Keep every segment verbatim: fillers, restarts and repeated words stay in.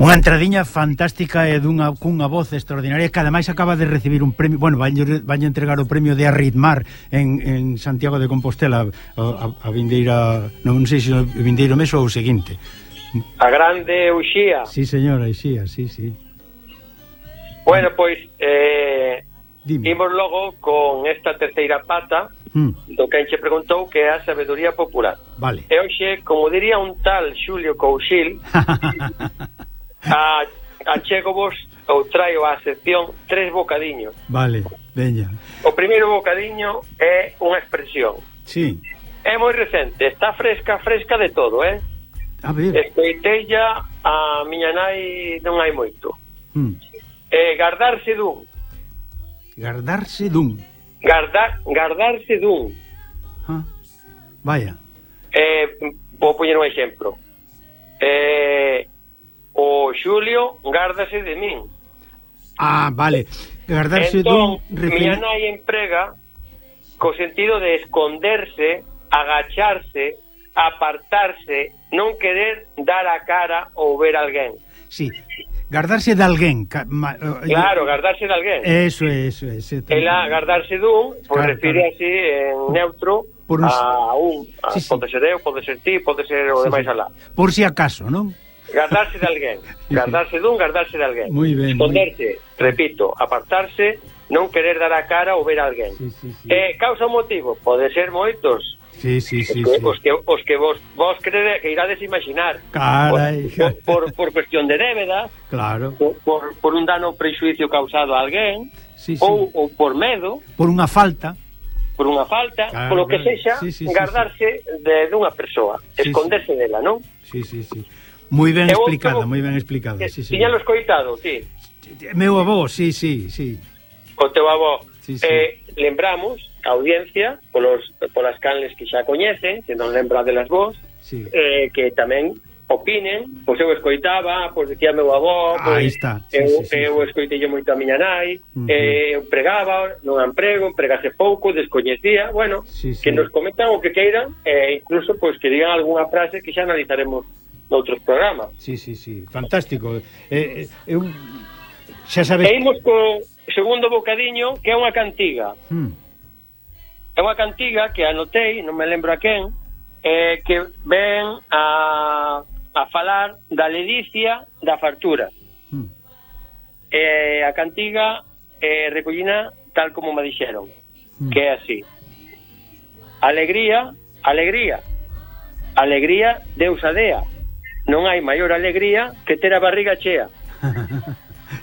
Unha entradiña fantástica e dunha cunha voz extraordinaria que ademais acaba de recibir un premio, bueno, vai a entregar o premio de Arritmar en, en Santiago de Compostela a, a, a vindeira, non sei se o vindeiro mes ou o seguinte. A grande Uxía. Sí, señora, Uxía, sí, sí. Bueno, pois eh, Dime. imos logo con esta terceira pata hmm. do que enche preguntou, que é a sabedoría popular. Vale. E hoxe, como diría un tal Xulio Couchil, a, achego vos ou traio á sección tres bocadiños. Vale, veña. O primeiro bocadiño é unha expresión. Sí. É moi recente, está fresca, fresca de todo, eh? A ver. Escoiteilla a miña nai non hai moito. Hmm. Eh, gardarse dun. Gardarse dun. Gardar, gardarse dun. Ah, vaya. Eh, vou poñer un exemplo. Eh, o Xulio gárdase de min. Ah, vale. Gardarse entón, dun. Refer... miña nai emprega co sentido de esconderse, agacharse, apartarse, non querer dar a cara ou ver a alguén. Sí. Gardarse de alguén. Ca, ma, uh, claro, gardarse de alguén. Eso é, eso é. Ela gardarse dun, pois pues, claro, refire claro. así en neutro un... a un. A, sí, sí. Pode ser eu, pode ser ti, pode ser o sí, demais sí. alá. Por si acaso, non? Gardarse de alguén. Gardarse dun, gardarse de alguén. Moi ben. Esconderse, muy... repito, apartarse, non querer dar a cara ou ver a alguén. Sí, sí, sí. Eh, causa un motivo, pode ser moitos. Sí, sí, sí, os, que, sí. os que os que vos vos crede, que irades imaginar. Carai. Por, por, por cuestión de débeda. Claro. Por, por, por un dano prexuicio causado a alguén. Sí, sí. Ou, ou por medo. Por unha falta. Por unha falta, claro, polo que claro. sexa, sí, sí, gardarse sí, sí. de dunha persoa, sí, esconderse sí. dela, non? Sí, sí, sí. Moi ben explicada, moi ben explicada. Sí, sí. Tiñalo escoitado, ti? Meu avó, sí, sí, sí. O teu avó. Sí, sí. Eh, lembramos a audiencia, polos, polas canles que xa coñecen, que non lembra delas vos, sí. eh, que tamén opinen, pois eu escoitaba, pois decía meu avó, pois, aí está. Sí, eu, sí, sí, eu sí. escoitei moito a miña nai, uh -huh. eh, eu pregaba, non emprego, empregase pouco, descoñecía, bueno, sí, sí. que nos comentan o que queiran, e eh, incluso pois que digan algunha frase que xa analizaremos noutros programas. Sí, sí, sí, fantástico. Eh, eh, eu xa sabes. E imos co segundo bocadiño, que é unha cantiga. Hmm. É unha cantiga que anotei, non me lembro a quen, eh, que ven a, a falar da ledicia da fartura. Hmm. Eh, a cantiga eh, recollina tal como me dixeron, hmm. que é así. Alegría, alegría. Alegría, Deus a dea. Non hai maior alegría que ter a barriga chea.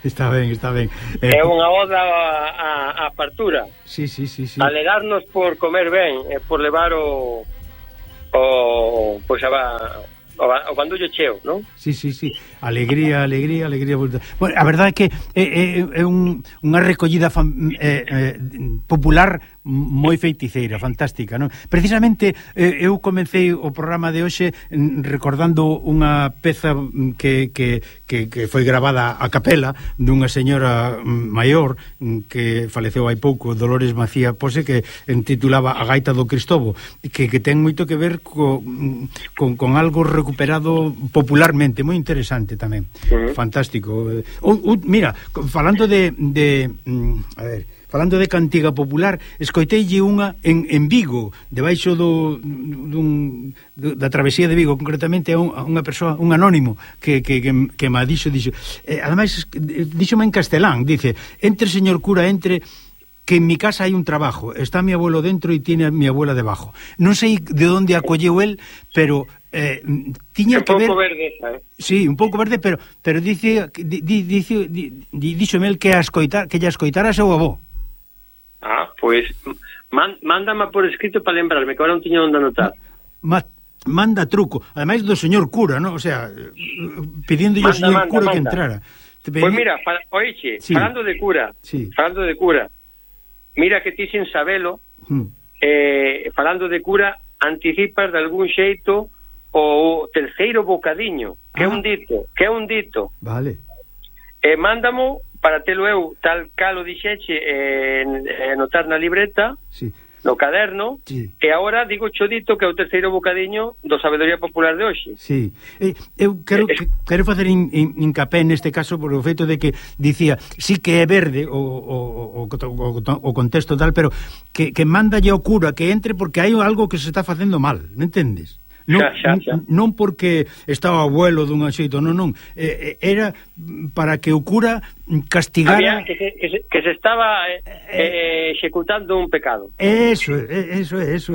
Está ben, está ben. Eh, é unha oda a, a, a fartura. Sí, sí, sí, sí. Alegrarnos por comer ben, e por levar o o pois a, o, o bandullo cheo, non? Sí, sí, sí. Alegría, alegría, alegría. Bueno, a verdade é que é, é, é un, unha recollida fan, é, é, popular moi feiticeira, fantástica, non? Precisamente eh, eu comecei o programa de hoxe recordando unha peza que, que, que, que foi gravada a capela dunha señora maior que faleceu hai pouco, Dolores Macía Pose, que titulaba A gaita do Cristobo, que, que ten moito que ver co, con, con algo recuperado popularmente, moi interesante tamén. Uh -huh. Fantástico. Uh, uh, mira, falando de, de a ver, falando de cantiga popular, escoiteille unha en, en Vigo, debaixo do, dun, da travesía de Vigo, concretamente a, un, a unha persoa, un anónimo, que, que, que, que ma dixo, dixo, eh, ademais, díxome en castelán, dice, entre, señor cura, entre, que en mi casa hai un trabajo, está mi abuelo dentro e tiene a mi abuela debajo. Non sei de onde acolleu el, pero eh, tiña que ver... Un pouco verde, eh? Sí, un pouco verde, pero pero dice, di, di, dice, di, díxome el que a escoitar, que lla escoitara seu avó. Ah, pois pues, man, mándame por escrito para lembrarme, que ahora non tiño onde anotar. Ma, manda truco, ademais do señor cura, ¿no? O sea, pidiendo ao señor manda, cura manda. que entrara. Pois pues mira, para, oiche, sí. falando de cura, sí. falando de cura, mira que ti sin sabelo, hmm. eh, falando de cura, anticipas de algún xeito o terceiro bocadiño, que é ah. un dito, que é un dito. Vale. E eh, mándamo para telo eu tal calo dixeche eh, eh, anotar na libreta. Sí. no caderno, sí. E agora digo chodito que é o terceiro bocadiño do Sabedoría Popular de hoxe. Sí. Eh, eu quero, que, quero facer in, in, incapé neste caso por o feito de que dicía, sí que é verde o, o, o, o, o contexto tal, pero que, que mandalle ao cura que entre porque hai algo que se está facendo mal, non entendes? Non, xa, xa, xa. non porque estaba o abuelo dun xeito, non, non, eh, era para que o cura castigara. Había que, se, que, se, que se estaba eh, eh, executando un pecado. Eso, eso, eso.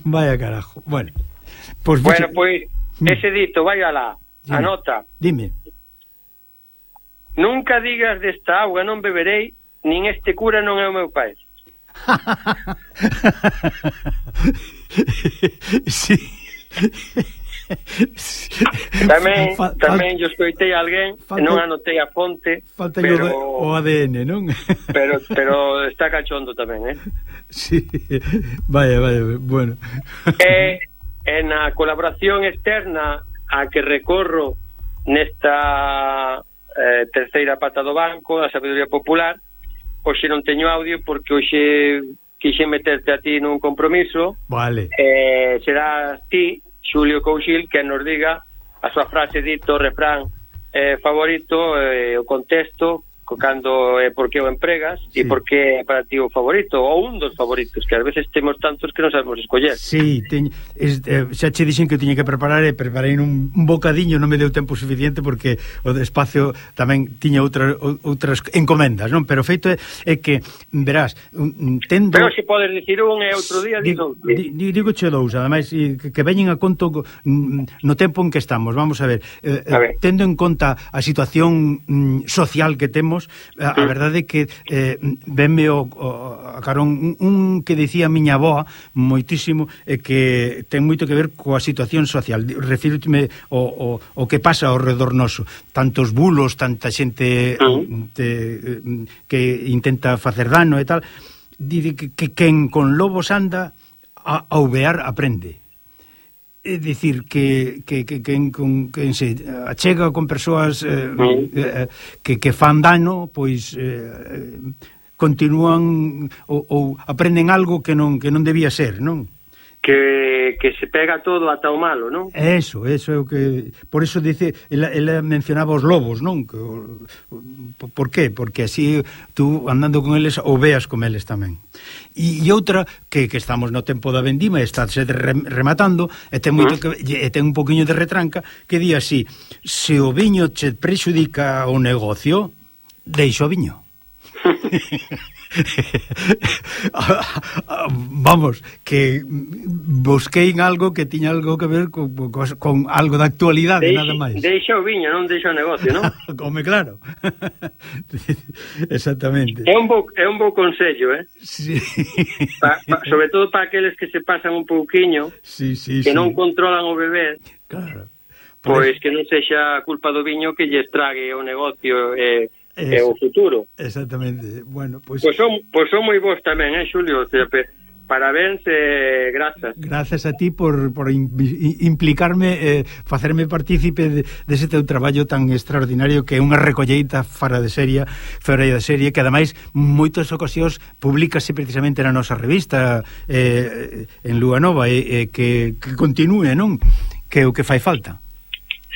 Vaya carajo. Bueno, pues, bueno, pois pues, ese dito, vai alá, dime, anota. Dime. Nunca digas desta auga non beberei, nin este cura non é o meu pai. Sí. Tamén, Fal, tamén yo escoitei a alguén, falta, non anotei a fonte, falta pero, o A D N, non? pero, pero está cachondo tamén, eh? Sí, vaya, vaya, bueno. E en a colaboración externa a que recorro nesta eh, terceira pata do banco, a Sabedoría Popular, hoxe non teño audio porque hoxe quixen meterte a ti nun compromiso. Vale. Eh, será ti, Xulio Couchil, que nos diga a súa frase dito, refrán eh, favorito, eh, o contexto, cando e eh, por que o empregas, e sí. Por que é para ti o favorito, ou un dos favoritos, que ás veces temos tantos que non sabemos escoller. Sí, teñ, es, eh, xa che dixen que tiña que preparar e preparei un, un bocadiño, non me deu tempo suficiente porque o espacio tamén tiña outra, outras encomendas, non? Pero feito é, é que, verás, tendo... Pero se podes dicir un e outro día digo, di, di, digo che dous, ademais que, que veñen a conto no tempo en que estamos, vamos a ver, eh, a ver. Tendo en conta a situación mm, social que temos, a, a verdade é que eh, venme o, o, a carón un, un que dicía a miña avoa moitísimo e eh, que ten moito que ver coa situación social. Refírome o, o, o que pasa ao redor noso, tantos bulos, tanta xente uh-huh. te, que intenta facer dano e tal. Dice que, que quen con lobos anda a, a uvear aprende. É dicir que que que quen con quen se achega con persoas eh, eh, que que fan dano, pois eh, continúan ou, ou aprenden algo que non que non debía ser, non? Que, que se pega todo ata o malo, non? Eso, eso é o que... Por eso dice, ela, ela mencionaba os lobos, non? Que, o, por qué? Porque así tú andando con eles ou veas con eles tamén. E, e outra, que, que estamos no tempo da vendima e está se rematando e ten moito que, e ten un poquinho de retranca que di así: se o viño che prexudica o negocio, deixa o viño. Vamos, que busquei en algo que tiña algo que ver con, con, con algo da actualidade, deixa, nada máis. Deixa o viño, non deixa o negocio, non? Come claro. Exactamente. É un bo, é un bo consello, eh? Sí. Pa, pa, sobre todo para aqueles que se pasan un pouquiño, sí, sí, que sí. non controlan o beber. Claro. Pois que non sexa culpa do viño que lle estrague o negocio e eh, é o futuro. Exactamente. Bueno, pois pues... Pois son, pues son moi vos tamén, eh, Xulio? O sea, parabéns e eh, grazas. Gracias a ti por, por implicarme, eh, facerme partícipe de, dese teu traballo tan extraordinario que é unha recolleita fora de serie, fora de serie, que ademais moitas ocasións publicase precisamente na nosa revista eh, en Lúa Nova e eh, que, que continúe, non? Que é o que fai falta.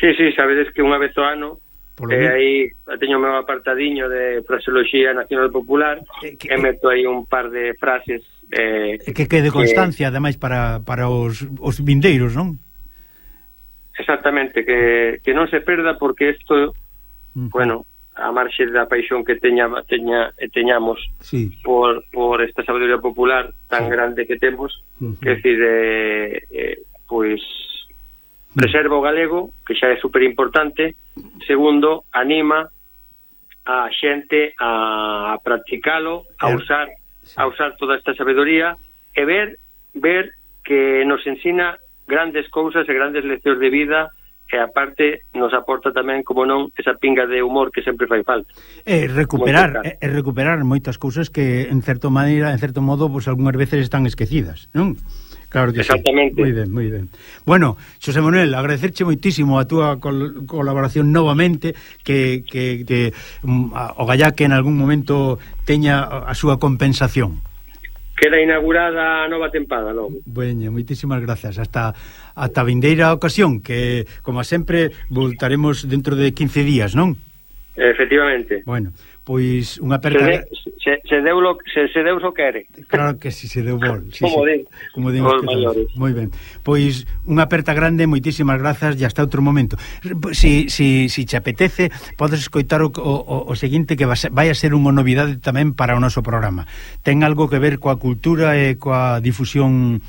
Sí, sí, sabedes que unha vez ao ano e eh, aí teño o meu apartadiño de fraseoloxía nacional popular eh, que, e meto aí un par de frases eh, que quede constancia, eh, ademais para, para os, os vindeiros, non? Exactamente, que, que non se perda porque isto, uh-huh. bueno, a marxe da paixón que teña, teña, teñamos sí. por, por esta sabedoría popular tan sí. grande que temos, uh-huh. que decir, eh, eh, pois preserva o galego, que xa é super importante. Segundo, anima a xente a practicalo, a usar a usar toda esta sabedoría e ver ver que nos ensina grandes cousas e grandes leccións de vida e aparte nos aporta tamén, como non, esa pinga de humor que sempre fai falta. E recuperar, e recuperar moitas cousas que en certa maneira, en certo modo, pois algunhas veces están esquecidas, non? Claro que exactamente. Sí. Moi ben, moi ben. Bueno, Xosé Manuel, agradecerche moitísimo a túa col colaboración novamente, que, que, que um, o gallá que en algún momento teña a súa compensación. queda inaugurada a nova tempada logo. Bueno, moitísimas grazas. Hasta ata a vindeira ocasión, que, como sempre, voltaremos dentro de quince días, non? Efectivamente. Bueno, pois unha aperta... Se, de, se, se, deu lo, se, se Deus o quere. Claro que si, se deu bol. Sí, como sí. din. Como din os maiores. Moi ben. Pois unha aperta grande, moitísimas grazas e hasta outro momento. Si, si, si te apetece, podes escoitar o, o, o seguinte, que vai a ser unha novidade tamén para o noso programa. Ten algo que ver coa cultura e coa difusión